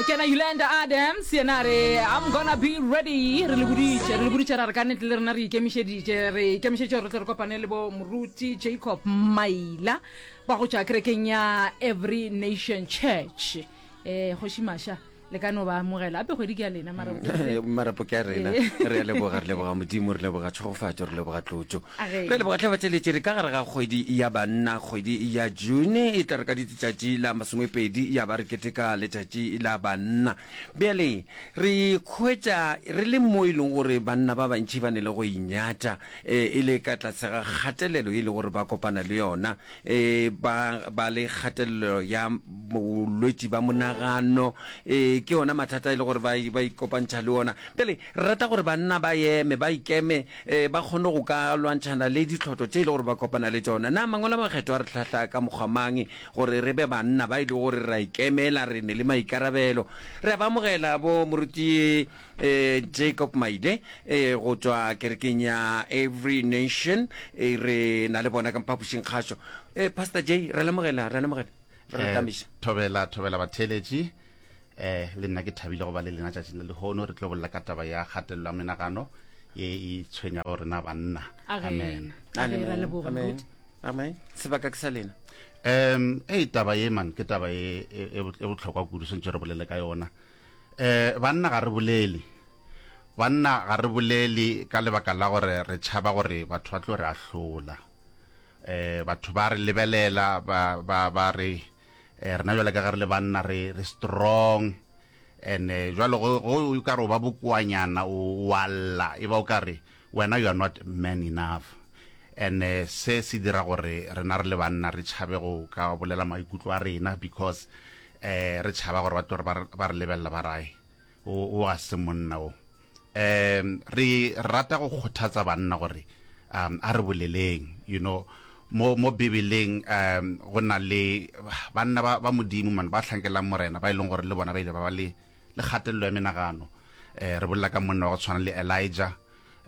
Kena Yolanda Adams yena a re I'm gonna be ready. Re le boditše, re le boditše ra re ka nnete le rena re ikemišeditše, re ikemišeditše gore re tle re kopane le bo Moruti Jacob Maila ba go tšwa kerekeng ya Every Nation Church. Eh Kgoši Masha le ka no ba amogela ape kgwedi ke ya lena mara marapo ke a rena re a leboga re leboga modimo re leboga tšhegofatšo re leboga tlotšo re leboga tlhe batšeletše re ka gare ga kgwedi ya banna kgwedi ya june e tla re ka ditšatši la masomepedi ya ba re keteka letšatši la banna bjale re khwetša re le mo e leng gore banna ba bantši ba ne le go inyatša e le ka tlase ga kgatelelo e le gore ba kopana le yona e ba ba le kgatelelo ya bolwetši ba monagano e ke yona mathata e le gore ba ba ikopantšha le ona pele re rata gore banna ba eme ba ikeme e, ba kgone go ka lwantšhana le ditlhotlo tše e le gore ba kopana le tšona na mangwalo a makgetho a re hlahla ka mokgwa mang gore re be banna ba e le gore ra ikemela re ne le maikarabelo re a ba amogela bo moruti Eh, Jacob Maile eh, go tšwa kerekeng ya Every Nation eh, re na le bona ka mphapošing kgašo. Eh, Pastor J, re lemogela, re lemogela. Re Eh, tamiša. thobela thobela batheeletši eh le nna ke thabile go ba le lena tšatšing la lehono re tlo bolela ka taba ya kgatelelo ya menagano ye e tshwenyago rena banna Age, amen age ra leboga Amen. moruti. Amen. Sebaka ke sa lena. um ei taba ye man ke taba ye e e e bohlokwa kudu swantše re bolele ka yona Eh, banna ga re bolele. Banna ga re bolele ka lebaka la gore re tšhaba gore batho ba tlo re ahlola. Eh, batho ba re lebelela ba ba ba re eh, rena jwale ka ge re le banna re re strong and eh, jwale go go o ka re o ba bokoanyana o wa lla e ba o ka re wena you are not man enough and eh, se se dira gore rena re le banna re tšhabe go ka bolela maikutlo a rena because eh re tšhaba gore ba tlo re ba re lebelela ba rae o o ga se monna o um re rata go kgothatsa banna gore um a re boleleng you know mo mo bibeleng um go na le banna ba ba modimo man ba tlhankelang morena ba e leng gore le bona ba ile ba ba le le kgatelelo ya menagano eh re bolela ka monna wa go tshwana le Elijah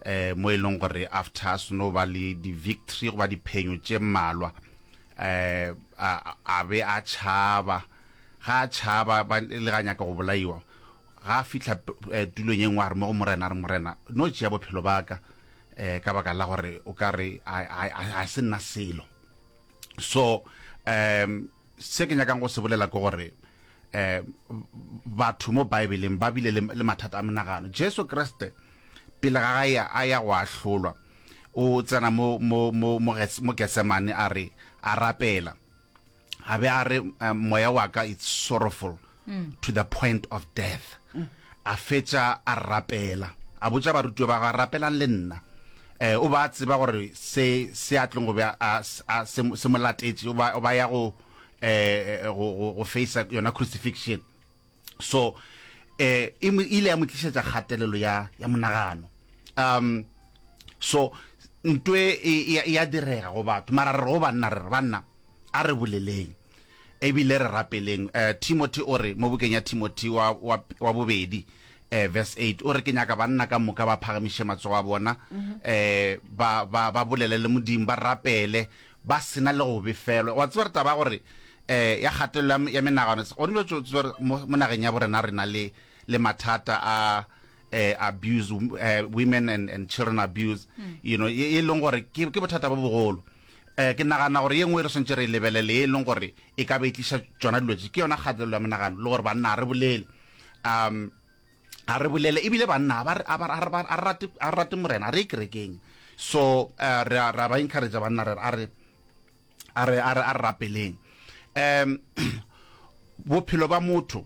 eh mo e leng gore after a seno ba le di-victory goba diphenyo tše mmalwa eh a a be a tšhaba ga a tšhaba ba le ga nyaka go bolaiwa ga a fihla eh, tulong ye nngwe a re mo go morena a re morena no tšea bophelo ba ka eh ka baka la gore o ka re a se nna selo so um se ke nyakang go se bolela ke gore um batho mo baebeleng ba bile le mathata a menagano jesu kriste pele ga gae a ya go ahlolwa o tsena mo mo mo mo mo Getsemane a re a rapela a be a re eh, moya wa ka it's sorrowful mm. to the point of death mm. a fetša a rapela a botša barutiwa ba ga rapelang le nna eh o ba tseba gore se se a tlong go be a se mo latetše o ba ya go eh go go face yona crucifixion so eh e ile ya mo tlišetša kgatelelo ya ya monagano um so ntwe e, e, e ya direga go batho mara re go banna re re banna a re boleleng ebile re rapeleng uh, timothy o re mo bukeng ya timothy wa, wa, wa bobedi eh, verse 8 o re ke nyaka banna ka moka ba phagamiše matsogo a bona mm -hmm. eh, ba, ba, ba bolele le modimo ba rapele ba sena le go befelwa wa tseba re taba ya gore um ya kgatelelo ya menagano gone bjo tseba re mo nageng ya borena re na le le mathata a eh, abuse eh, women and, and children abuse mm. you know e, e leng gore ke, ke bothata bo bogolo eh ke nagana gore ye nngwe re swantse re e lebelele e leng gore e ka be e tliša tšona dilo tše ke yona kgatelelo ya menagano le gore banna a re bolele um a re bolele ebile banna a ba rate a rate morena a re kerekeng so eh, re a ba encourage banna re a re a re a re a rapeleng um bophelo ba motho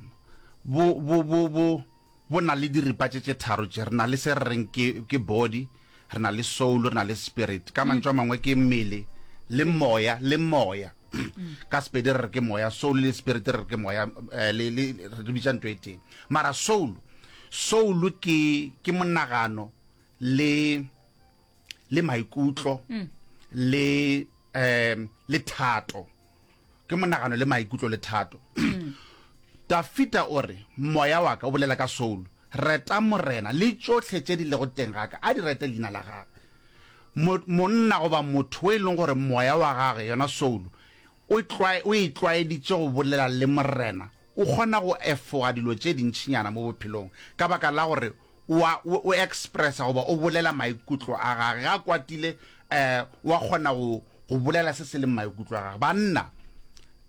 bo bo bo bo bo na le diripa tše tše tharo tše re na le se re reng ke ke body re na le soul re na le spirit ka mantšu a mangwe ke mmele le moya le moya ka sepedi re re ke moya soul le spirit re re ke moya eh, le le re bitša ntho e tee mara soul soul ke ke monagano le le maikutlo le um le thato ke monagano le maikutlo le thato Dafida o re moya wa ka o bolela ka soul reta morena le tšohle tše di lego teng ga ka a di rete leina la gagwe monna goba motho o e leng gore moya wa gagwe yona soul o e tlwaeditše go bolela le morena. o kgona go efoga dilo tše dintšinyana mo bophelong ka baka la gore o a, o, o expressa goba o bolela maikutlo a gage. Ge a kwatile, um o a kgona go, go bolela se se leng maikutlo a gage. Banna,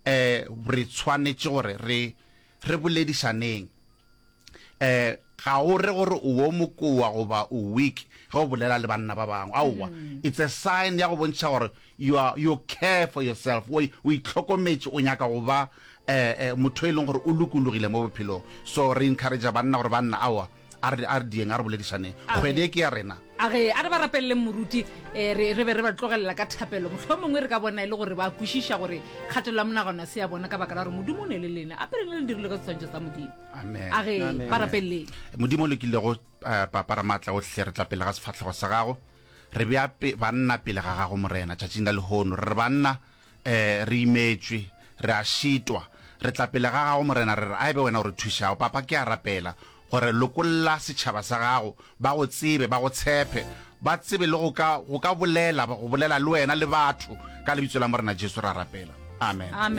um re tshwanetše gore re, re boledišaneng. Um ga o re gore o wo mokoa goba o weak ge o bolela le banna ba bangwe. Aowa, it's a sign ya go bontšha gore you are, you care for yourself, o, o itlhokometše, o nyaka go ba eh, eh, motho e leng gore o lokologile mo bophelong. So re encourage banna gore banna, aowa, a re, a re dieng, a re boledišaneng. Kgwedi e ke ya rena. A re, a re ba rapeleleng moruti, eh, re, re be re ba tlogelela ka thapelo. Mohlomongwe re ka bona e le gore ba kwešiša gore kgatelelo ya monagano a se ya bona ka baka la gore Modimo o ne le lena. A pele le le dirilwe ka seswantšho sa Modimo. Amen. A re, ba rapeleleng. Modimo o lokilego, eh, Papa Ramaatla ohle, re tla pele ga sefahlego sa Gago. Re bea pe, banna pele ga Gago, Morena, tšatšing la lehono. Re re banna, eh, re imetšwe, re a šitwa. Re tla pele ga Gago, Morena, re re, a e be Wena o re thušago. Papa, ke a rapela gore lokolla setšhaba sa Gago, ba Go tsebe, ba Go tshepe, ba tsebe le go ka, go ka bolela, go bolela le Wena le batho. Ka Lebitso la Morena Jesu re a rapela. Amen. Amen.